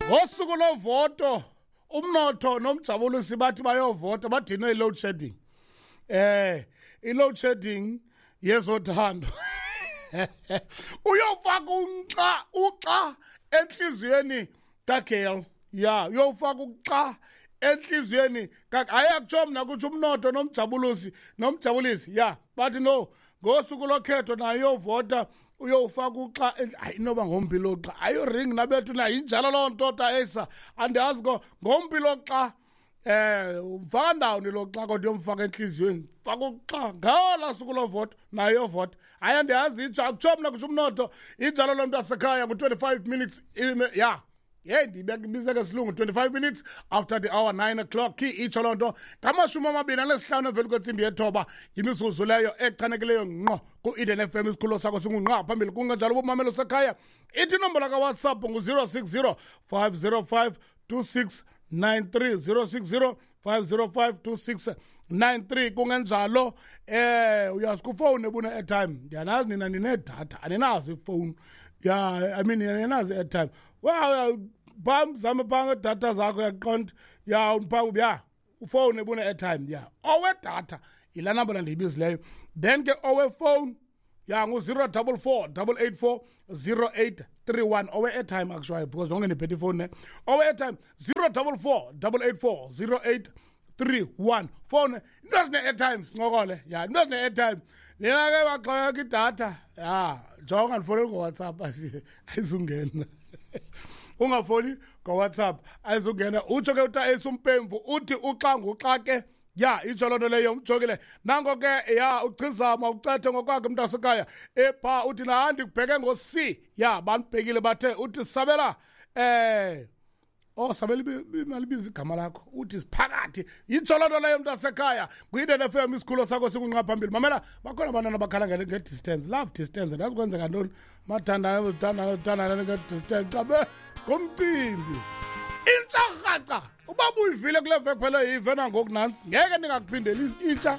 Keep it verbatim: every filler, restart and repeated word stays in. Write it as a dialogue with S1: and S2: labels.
S1: Ngosuku lovoto umnotho nomjabulisi bathi bayovota, badinwe i-load shedding. Eh i-load shedding yezothando. Uyofaka unxa uxa enhliziyweni kaGirl. Ya, uyofaka uxa enhliziyweni. Hayi, akutsho mna, kutsho umnotho nomjabulusi nomjabulisi. Ya, bathi no, ngosuku lokhetho nayo uyovota, uyofaka uxa. Hayi, inoba ngompi lo xa ayo ring nabethu na injalo loo nto ta esa andiyazi ko ngompi lo xa eh umfaka ndawoni lo xa, kodwa uyomfaka enhliziyweni, faka uxa ngala suku lovoto nayo uyovota. Hayi, andiyazi, itsho, akutsho mna, kutsho umnotho. Injalo loo nto asekhaya. Ngu-twenty-five minutes, ya, yeyi, ndibize ngesilungu, twenty-five minutes after the hour nine o'clock. Itsho loo nto ngamashumi amabini anesihlanu emveni kwentsimbi yethoba, yimizuzu leyo echanekileyo ngqo ku-Eden F M, isikhululo sakho singungqa phambili. Kungenjalo ubumamelo sekhaya, ithi inombolo kaWhatsApp ngu-zero six zero five zero five two six nine three, zero six zero five zero five two six nine three. Kungenjalo eh uyazi kufowuni ebune-airtime. Ndiyanazi nina ninedatha, aninazo ifowuni. Ya, I mean, aninazo i-airtime. Well, phaa zame phaa ngedatha zakho, uyaqonda? Ya, phaa ya ufowuni ebune-airtime. Ya, owedatha yilaa nambala ndiyibizileyo. Then ke owefowuni, ya, ngu-zero double four double eight four zero eight three one, owe-airtime actually, because zonke ndiphethe ifowuni ne. Owe-airtime zero double four double eight four zero eight three one. Phone into ezine-airtime, sincokole. Ya, into ezine-airtime. Nina ke baxhomekeka idatha, ya, jonga, ndifowunele ngoWhatsApp, ayizungena. Ungafoni ngoWhatsApp, ayizungena. Utsho ke uta esumpemvu, uthi uxa nguxa ke. Ya, itsho loo nto leyo. Umjongile nango ke. Ya, uchizama ucethe ngokwakhe mntasekhaya epha, uthi nahandi ndikubheke ngo-C. Ya, bandibhekile bathe, uthi sabela eh oh sabela malibiza igama lakho, uthi siphakathi. Yitsho loo nto leyo mntasekhaya. Kwi-Eden F M, isikhululo sakho sikunqa phambili. Mamela, bakhona abantwana abakhala nge-distance, love distance. Andazi kwenzeka ntoni, mathandana thandana thandana nge-distance, cabe ngumcimbi intsha rhaca. Uba buyivile kule veki phela, yive nangoku nantsi, ngeke ndingakuphindeli intsha.